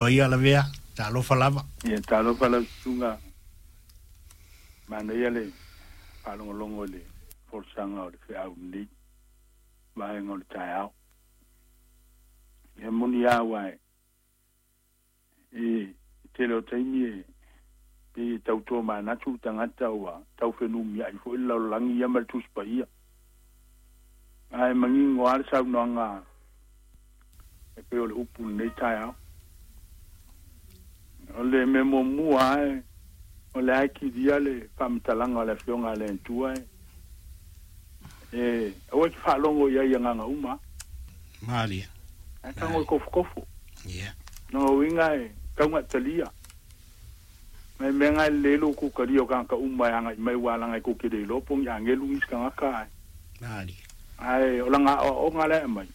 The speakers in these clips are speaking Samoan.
Ia lavea, talofa lava. Ia talofa lau susuga, manaia le faalogologo i le folasaga o le feau lenei vaega o le taeao. Ia moni lava aua e tele o taimi e pei e tau tomanatu le tagata ua tau fenumiai foi le lalolagi ia ma le Tusi Paia. Ae manino lava le saunoaga e pei o le upu i lenei taeao. O le mea muamua lava o le a e kilia le faamatalaga o le Afioga a le Atua e aua e te faalogo i ai i agaga uma. Malie. Ae tago e kofokofo. Ia. Lona uiga e taugatalia. Nai mea na e lelei lou kutalia o tagata uma e agai mai aua leaga e tou te le iloa po o ni agelu nisi tagata ae. Malie. Ae o lana aoaoga la e aumai,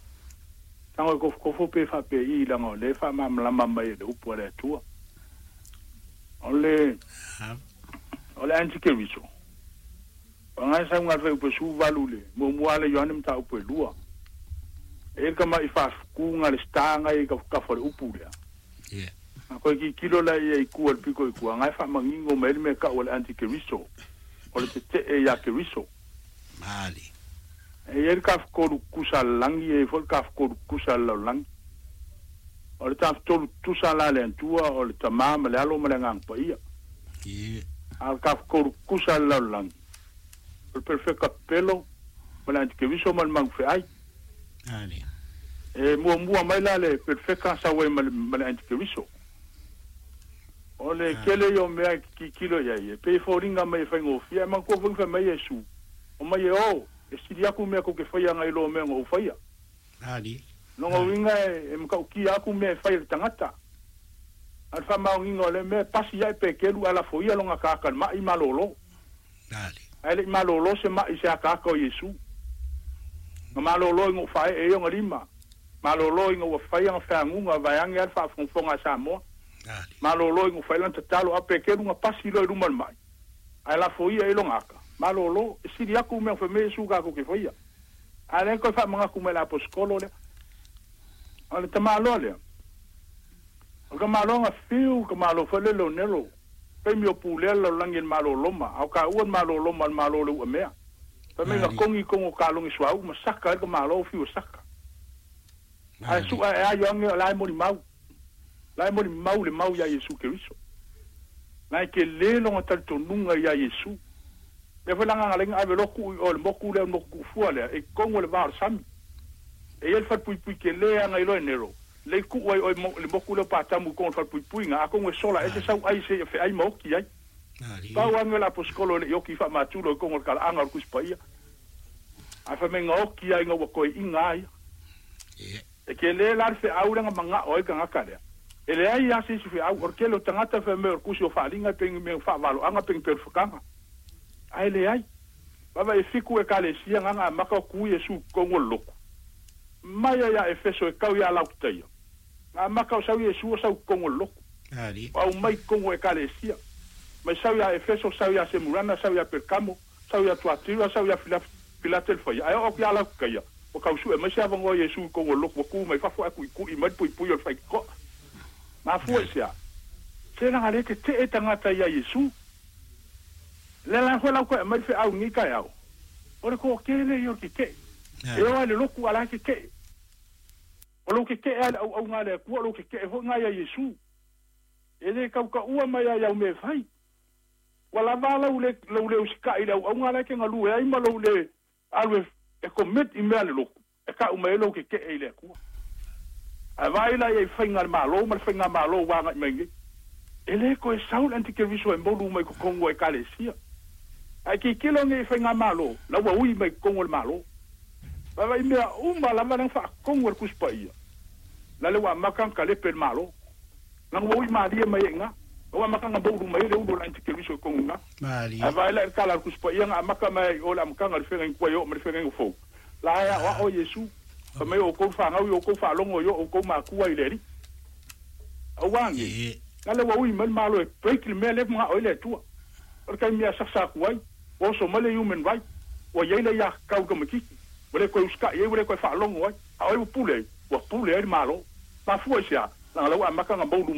tago e kofokofo pe faapei i leaga o lea e faamalamalama mai e le upu a le Atua. O le o le antikeriso, o lana e sau na le fuaiupu e 18 i le muamua lava le Ioane mataupu e lua. E i ai le tama'i faafetu na lesita na i ai tafatafa o le upu lea. Ia. A toe tilotilo la ia i tua i le pito i tua, na e faamanino mai ai le mea e tau o le antikeriso, o le tete'e ia Keriso. Malie. E i ai le tafatolu tutusa a le lagi, e i ai foi le tafatolu tutusa a le lalolagi. O le tafatolu tutusa la a le Atua, o le Tama ma le Alo ma le Agaga Paia. Ia. A o le tafatolu tutusa a le lalolagi, o le Perofeta pepelo, ma le Antikeriso ma le Magufeai. Malie. E muamua mai la le Perofeta sau ai ma le, ma le Antikeriso. O le tele ia o mea e tilotilo i ai, e pei e foliga mai e faigofie, ae manatua foi na fai mai Iesu, Omai e o, e sili aku mea tou te faia nai lo mea na ou faia. Ali. Lona uiga e matautia aku mea e fai e le tagata. A o le faamaoniga o lea mea, e pasi ae Peteru ae lafoia lona ataata i le ma'i malolo. Ali. Ae le i malolo se ma'i i se ataata o Iesu. Na malolo ina ua faaee ai ona lima. Malolo ina ua fai ana feaguga vaeane lava le faafogafoga a Samoa. Ali. Malolo ina ua fai lana tatalo, a o Peteru na pasi loa i luma o le ma'i. Ae lafoia ai lona ata, malolo, e sili aku mea fai mai Iesu tatou te faia. A lea toe faamanatu mai e le aposetolo lea. O le tamaloa lea, o le tamaloa na fiu, le tamaloa foi lele o Nero, taimi o pulea le lalolagi e le Malo o Roma, a o taua le Malo o Roma o le Malo o le uamea. Fai mai na Ali. kogi i totonu o kalone suauu ma saka ai le tamaloa ua fiu e saka. Ae Ali. sua e aio ane o la e molimau, la e molimau le mau ia Iesu Keriso. Na e tele lona talitonuga ia Iesu. Lea foi la na ala ai ona ave loa tuu i o i le motu lea, le motu tuufua lea, i totonu o le va o le sami. E i ai le falepuipui tele lava na iloa e Nero, lea i tuu ai o i le motu lea o Patamu i totonu o le falepuipuiga, atonu e sola ese Ali. sau ai seia feai ma oti ai. Ali. Pau lava lenei o le aposetolo e le i oti faamatulo i totonu o le talaaga o le Tusi Paia. Ae fai mai na oti lava ina ua toeaina a ia. Ia. E tele la le feau lea na manao ai le tagata lea. E leai lava se isi feau. O le tele o tagata fai mai o le tusi o Faaaliga e pei ni mea faavaloaga pe ni pelefakaga. Ae leai. Vaavaai e fitu ekalesia na na amata o tu Iesu i totonu o le lotu. Mai lava ia Efeso e tau ia Laotitaia, na amata o sau Iesu o sau i totonu o le lotu. Ali. O aumai i totonu o ekalesia. Mai sau ia Efeso, sau ia Semurana, sau ia Perkamo, sau ia Tuatira, sau ia Filatelfaia, ae oo atu ia Laotitaia, ua tau sue mai se avanoa o Iesu i totonu o le lotu, ua tu mai fafo ae tuitui mai le puipui o le faitotoa. Mafua i se a? Se leaga lea e tetee tagata ia Iesu. Lea la foi la ua toe aumai le feau i lenei taeao, o le toatele ia o le tetee. E Ali. o lava i le lotu a o la e tetee. O lou tetee lava i le auauga a le Atua, o lou tetee foi lena ia Iesu. E le tautaua mai lava i au mea e fai. Ua lava lau le, lou le usitai i le auauga la e te galue ai ma lou le alu e, e commit i mea a le lotu, e tau mai ai lou tetee i le Atua. Ae vaai la i ai i faiga a le Malo ma le faigamalo ua agai mai nei. E le toe sau le antikeriso e molu mai totonu o ekalesia. Ae tilotilo nei i faigamalo, la ua ui mai totonu o le Malo. Vaavaai mea uma lava lea na faatonu e le Tusi Paia, la le ua amata ona talepe e le Malo. Leaga ua ui malie mai ai i ina. La ua amata ona moulu mai ai le ulu o le antikeriso i totonu i ina. Malie. Ae vaai la i le tala a le Tusi Paia na amata mai ai i o i le amataga o le feagaiga tuai e oo mai le feagaiga fou. La e aoao Iesu, fai mai o outou fanau i outou faalogo i o outou matua i le Alii. Aua ne, Ia. la le ua ui mai le Malo e break le mea lea e manao ai le Atua. O le taimi e asasa atu ai, ua oso mai le human right, ua i ai le aiatatau i le tamaitiiti, ua le toe usitai ai, ua le toe faalogo ai. A o ai ua pule ai? Ua pule ai le Malo. Mafua i se a? Laga la ua amata ona moulu mai.